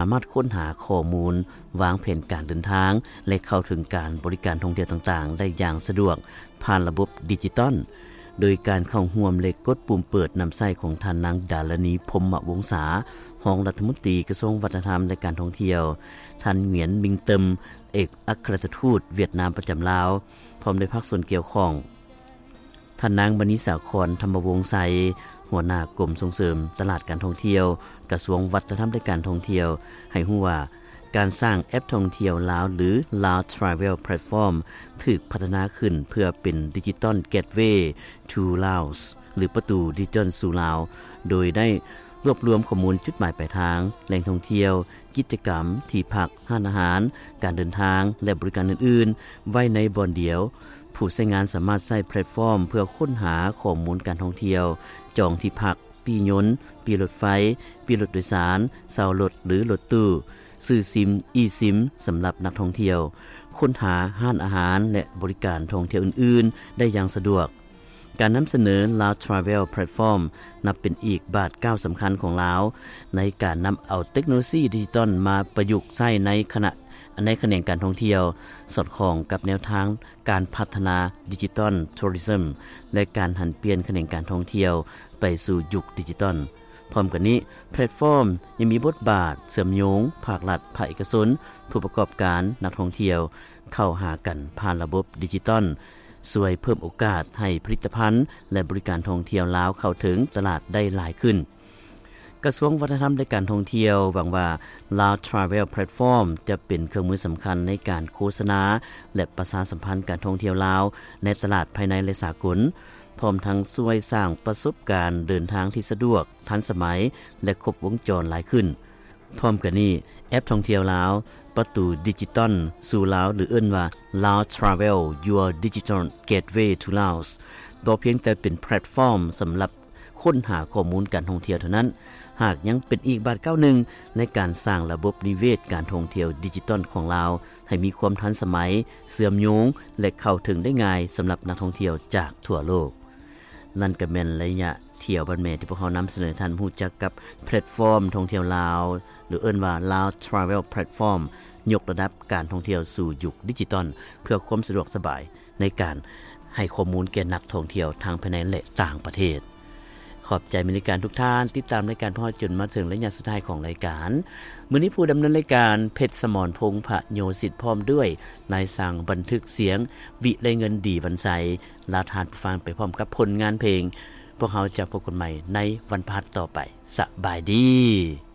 ສາມາດຄົ້ນຫາຂໍ້ມູນ, ວາງແຜນການເດີນທາງ ແລະ ເຂົ້າເຖິງການບໍລິການທ່ອງທ່ຽວຕ່າງໆ ໄດ້ຢ່າງສະດວກຜ່ານລະບົບດິຈິຕອນ, ໂດຍການເຂົ້າຮ່ວມ ແລະ ກົດປຸ່ມເປີດນຳໃຊ້ຂອງທ່ານນາງ ດາລະນີ ພົມມະວົງສາ, ຮອງລັດຖະມົນຕີກະຊວງວັດທະນະທຳ ແລະ ການທ່ອງທ່ຽວ, ທ່ານ ຫງວຽນ ມິງເຕີມ, ເອກອັກຄະລັດຖະທູດຫວຽດນາມປະຈຳລາວ, ພ້ອມດ້ວຍພາກສ່ວນກ່ຽວຂ້ອງ. ທ່ານນາງ ມະນີສາຄອນ ທຳມະວົງໄຊ, ຫົວໜ້າກົມສົ່ງເສີມຕະຫຼາດການທ່ອງທ່ຽວ, ກະຊວງວັດທະນະທຳ ແລະ ການທ່ອງທ່ຽວ ໃຫ້ຮູ້ວ່າ ການສ້າງແອັບທ່ອງທ່ຽວລາວ ຫຼື Lao Travel Platform ຖືກພັດທະນາຂຶ້ນເພື່ອເປັນ Digital Gateway to Laos ຫຼື ປະຕູດິຈິຕອນສູ່ລາວ, ໂດຍໄດ້ລວບລວມຂໍ້ມູນຈຸດໝາຍປາຍທາງ, ແຫຼ່ງທ່ອງທ່ຽວ, ກິດຈະກຳ, ທີ່ພັກ, ຮ້ານອາຫານ, ການເດີນທາງ ແລະ ບໍລິການອື່ນໆ ໄວ້ໃນບ່ອນດຽວ. ຜູ້ໃຊ້ງານສາມາດໃຊ້ແພລດຟອມເພື່ອຄົ້ນຫາຂໍ້ມູນການທ່ອງທ່ຽວ, ຈອງທີ່ພັກ, ປີ້ຍົນ, ປີ້ລົດໄຟ, ປີ້ລົດໂດຍສານ, ເຊົ່າລົດ ຫຼື ລົດຕູ້, ຊື້ຊິມ, eSIM ສຳລັບນັກທ່ອງທ່ຽວ, ຄົ້ນຫາຮ້ານອາຫານ ແລະ ບໍລິການທ່ອງທ່ຽວອື່ນໆ ໄດ້ຢ່າງສະດວກ. ການນຳສະເໜີ Lao Travel Platform ນັບເປັນອີກບາດກ້າວສຳຄັນຂອງລາວ ໃນການນຳເອົາເຕັກໂນໂລຊີດິຈິຕອນມາປະຍຸກໃຊ້ໃນຂະນະ ໃນຂະແໜງການທ່ອງທ່ຽວ, ສອດຄ່ອງກັບແນວທາງການພັດທະນາ Digital Tourism ແລະ ການຫັນປ່ຽນຂະແໜງການທ່ອງທ່ຽວໄປສູ່ຍຸກດິຈິຕອນ. ພ້ອມກັນນີ້, ແພລດຟອມຍັງມີບົດບາດເຊື່ອມໂຍງພາກລັດ, ພາກເອກະຊົນ, ຜູ້ປະກອບການ, ນັກທ່ອງທ່ຽວ ເຂົ້າຫາກັນຜ່ານລະບົບດິຈິຕອນ, ຊ່ວຍເພີ່ມໂອກາດໃຫ້ຜະລິດຕະພັນ ແລະ ບໍລິການທ່ອງທ່ຽວລາວເຂົ້າເຖິງຕະຫຼາດໄດ້ຫຼາຍຂຶ້ນ. ກະຊວງວັດທະນະທຳ ແລະ ການທ່ອງທ່ຽວຫວັງວ່າ Lao Travel Platform ຈະເປັນເຄື່ອງມືສຳຄັນໃນການໂຄສະນາ ແລະ ປະຊາສຳພັນການທ່ອງທ່ຽວລາວໃນຕະຫຼາດພາຍໃນ ແລະ ສາກົນ, ພ້ອມທັງຊ່ວຍສ້າງປະສົບການເດີນທາງທີ່ສະດວກ, ທັນສະໄໝ ແລະ ຄົບວົງຈອນຫຼາຍຂຶ້ນ. ພ້ອມກັນນີ້, ແອັບທ່ອງທ່ຽວລາວ ປະຕູດິຈິຕອນສູ່ລາວ ຫຼື ເອີ້ນວ່າ Lao Travel Your Digital Gateway to Laos ບໍ່ພຽງແຕ່ເປັນແພລດຟອມສຳລັບຄົ້ນຫາຂໍ້ມູນການທ່ອງທ່ຽວເທົ່ານັ້ນ, ຫາກຍັງເປັນອີກບາດກ້າວໜຶ່ງໃນການສ້າງລະບົບນິເວດການທ່ອງທ່ຽວດິຈິຕອນຂອງລາວ ໃຫ້ມີຄວາມທັນສະໄໝ, ເຊື່ອມໂຍງ ແລະ ເຂົ້າເຖິງໄດ້ງ່າຍສຳລັບນັກທ່ອງທ່ຽວຈາກທົ່ວໂລກ. ນັ້ນກໍແມ່ນໄລຍະທ່ຽວບ້ານແມ່ ທີ່ພວກເຮົານຳສະເໜີທ່ານຮູ້ຈັກກັບແພລດຟອມທ່ອງທ່ຽວລາວ ຫຼື ເອີ້ນວ່າ Lao Travel Platform ຍົກລະດັບການທ່ອງທ່ຽວສູ່ຍຸກດິຈິຕອນ ເພື່ອຄວາມສະດວກສະບາຍໃນການໃຫ້ຂໍ້ມູນແກ່ນັກທ່ອງທ່ຽວທັງພາຍໃນ ແລະ ຕ່າງປະເທດ. ຂອບໃຈແຟນລາຍການທຸກທ່ານ ຕິດຕາມລາຍການພວກເຮົາຈົນມາເຖິງໄລຍະສຸດທ້າຍຂອງລາຍການ. ມື້ນີ້ຜູ້ດຳເນີນລາຍການ ເພັດສະໝອນ ພົງພະໂຍສິດ ພ້ອມດ້ວຍນາຍຊ່າງບັນທຶກສຽງ ວິໄລເງິນ ດີວັນໄຊ ລາທ່ານຜູ້ຟັງໄປພ້ອມກັບຜົນງານເພງ. ພວກເຮົາຈະພົບກັນໃໝ່ໃນວັນພະຫັດຕໍ່ໄປ. ສະບາຍດີ.